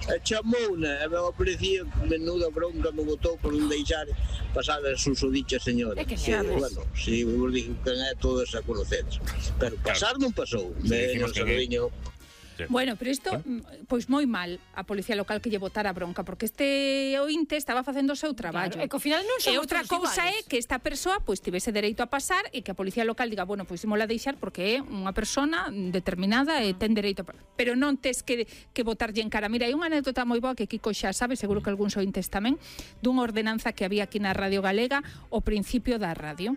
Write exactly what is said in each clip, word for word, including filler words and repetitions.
E chamouna, e a policía menuda bronca me botou por non deixar pasar a susodicha señora. É que sabes. Bueno, si vos digo que é todas a conocedes. Pero pasar non pasou. Veño, Salviño. Sí. Bueno, pero isto, pois moi mal a policía local que lle botara bronca, porque este ointe estaba facendo o seu traballo. Claro, e que ao final non E somos outra todos cousa iguales. é que esta persoa pois tivese dereito a pasar e que a policía local diga, bueno, pois imola deixar porque é unha persona determinada e ten dereito a... Pero non tes que, que botarlle en cara. Mira, hai unha anécdota moi boa que Kiko xa sabe, seguro que algúns ointes tamén, dunha ordenanza que había aquí na Radio Galega ao principio da radio.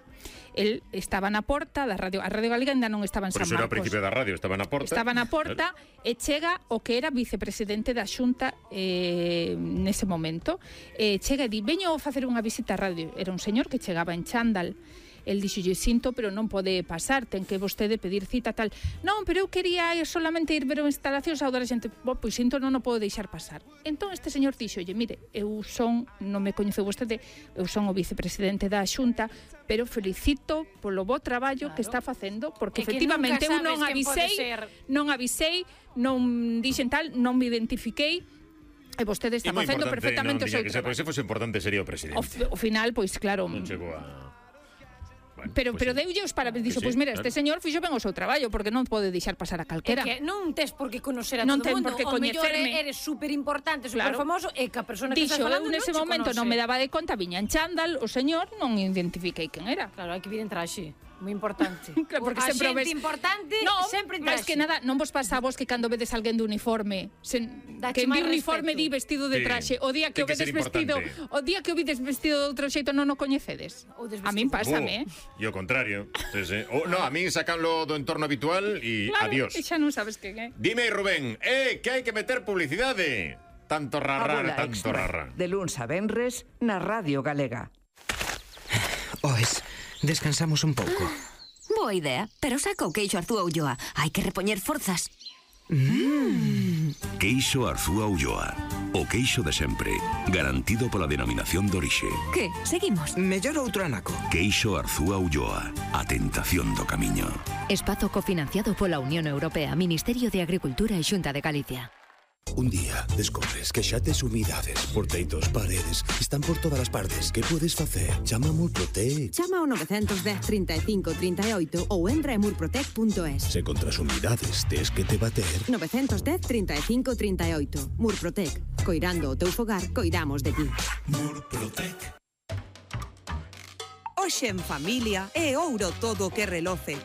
El estaba na porta da radio, a Radio Galega ainda non estaba en Por San iso era o Marcos. principio da radio, estaba na porta. Estaba na porta e chega o que era vicepresidente da Xunta eh, nese momento. E chega e di, veño a facer unha visita á radio. Era un señor que chegaba en chándal. El dixolle, sinto, pero non pode pasar, ten que vostede pedir cita tal. Non, pero eu quería ir solamente ir ver as instalacións a outra xente. Bo, pois sinto, non o podo deixar pasar. Entón este señor dixolle, mire, eu son, non me coñeceu vostede, eu son o vicepresidente da Xunta, pero felicito polo bo traballo claro. que está facendo, porque é efectivamente eu non avisei, non avisei, non dixen tal, non me identifiquei, e vostede está facendo perfectamente o seu traballo. Se fose importante sería o presidente. O, o final, pois claro... Non chegou a... Bueno, pero pues pero sí. deulle os parabéns, dixo, Sí, pois mira, claro. este señor fixo ben o seu traballo, porque non pode deixar pasar a calquera. É que non tes por que conocer a Non todo ten o mundo, por que o mellor coñecerme. eres super importante, super Claro. famoso, e que a persona que Dixo, estás falando eu nese non che momento conoce. non me daba de conta, viña en chándal, o señor non identifiquei quen era. Claro, hai que vir en traxe, moi importante. Claro, porque a sempre o xente ves- importante No, sempre en máis traxe. que nada, non vos pasa a vos que cando vedes alguén de uniforme, sen, Dache que en máis uniforme respeto. di vestido de Sí, traxe, o día que ten o que vedes ser vestido, importante. o día que o vides vestido de outro xeito non o coñecedes. Ou desvestido. A min pásame, eh. Oh, e o contrario. Sí, sí. O, no, a min sacanlo do entorno habitual e Claro, adiós. e xa non sabes quen é. Dime, Rubén, eh, que hai que meter publicidade. Tanto A rarrar, bola tanto extra, rarra. de luns a venres na Radio Galega. Oes, descansamos un pouco. Boa idea, pero saca o queixo Arzúa Ulloa. Hai que repoñer forzas. Queixo Arzúa Ulloa. O queixo de sempre. Garantido pola denominación de orixe. Que? Seguimos. Mellor outro anaco. Queixo Arzúa Ulloa. A tentación do camiño. Espazo cofinanciado pola Unión Europea, Ministerio de Agricultura e Xunta de Galicia. Un día descobres que xa tes humidades, porteitos, paredes, están por todas as partes. Que podes facer? Chama a Murprotec. Chama ao nove un cero, trinta e cinco, trinta e oito ou entra en murprotec punto es. Se contra as humidades tes que te bater. nove un cero, trinta e cinco, trinta e oito. Murprotec. Coirando o teu fogar, coidamos de ti. Murprotec. Hoxe en familia é ouro todo o que reloce.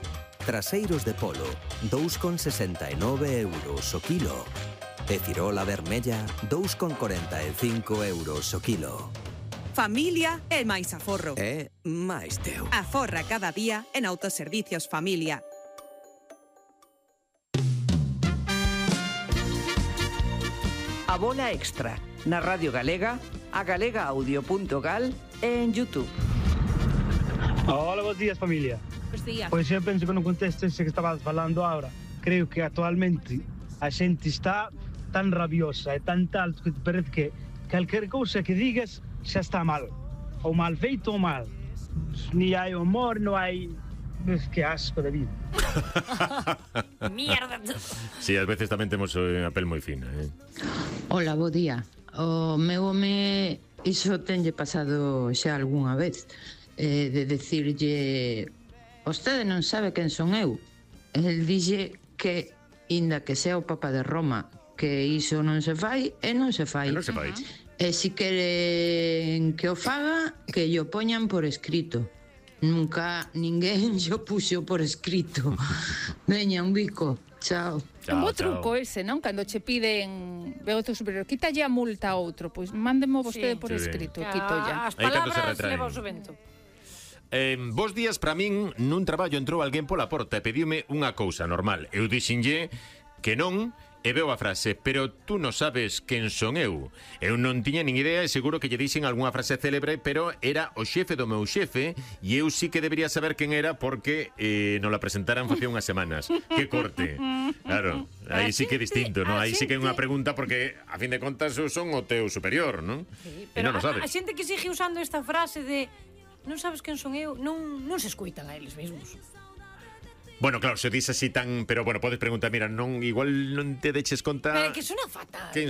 Traseiros de polo, dous con sesenta e nove euros o kilo. E cirola vermella, dous con corenta e cinco euros o kilo. Familia é máis aforro. É máis teu. Aforra cada día en Autoservicios Familia. A bola extra, na Radio Galega, a galega audio punto gal e en YouTube. Hola, bons días, familia. Bos días. Pois eu penso que non conteste ese que estabas falando agora. Creo que actualmente a xente está tan rabiosa e tan tal que te parece que calquer cousa que digas xa está mal. Ou mal feito ou mal. Ni hai humor, non hai... Que asco de vida. Mierda. Sí, ás veces tamén temos a pel moi fina, eh. Hola, bo día. O meu home, iso tenlle pasado xa algunha vez, eh, de decirlle, vostede non sabe quen son eu. El dixe que, inda que sea o Papa de Roma, que iso non se fai e non se fai. E non se fai. E si queren que o faga, que yo poñan por escrito. Nunca ninguén xo puxo por escrito. Veña, un bico. Chao. Un bo truco ese, non? Cando che piden veo o teu superior, quítalle a multa a outro, pois mándemo vostede Sí. por Sí. escrito, quito ya. As Aí cando se palabras retraen. leva o su vento. Eh, bos días para min. Nun traballo entrou alguén pola porta e pediume unha cousa normal. Eu dixenlle que non e veo a frase, pero tú non sabes quen son eu. Eu non tiña nin idea e seguro que lle dixen algunha frase célebre, pero era o xefe do meu xefe e eu sí que debería saber quen era porque eh, non la presentaran facía unhas semanas. Que corte. Claro, aí sí que é distinto, non? Aí sí que é unha pregunta porque a fin de contas eu son o teu superior, non? Sí, E pero non o a, sabes. a xente que sigue usando esta frase de non sabes quen son eu, non, non se escuitan a eles mesmos. Bueno, claro, se dis así tan... Pero bueno, podes preguntar, mira, non igual non te deches conta... Pero é que sona fatal. Quen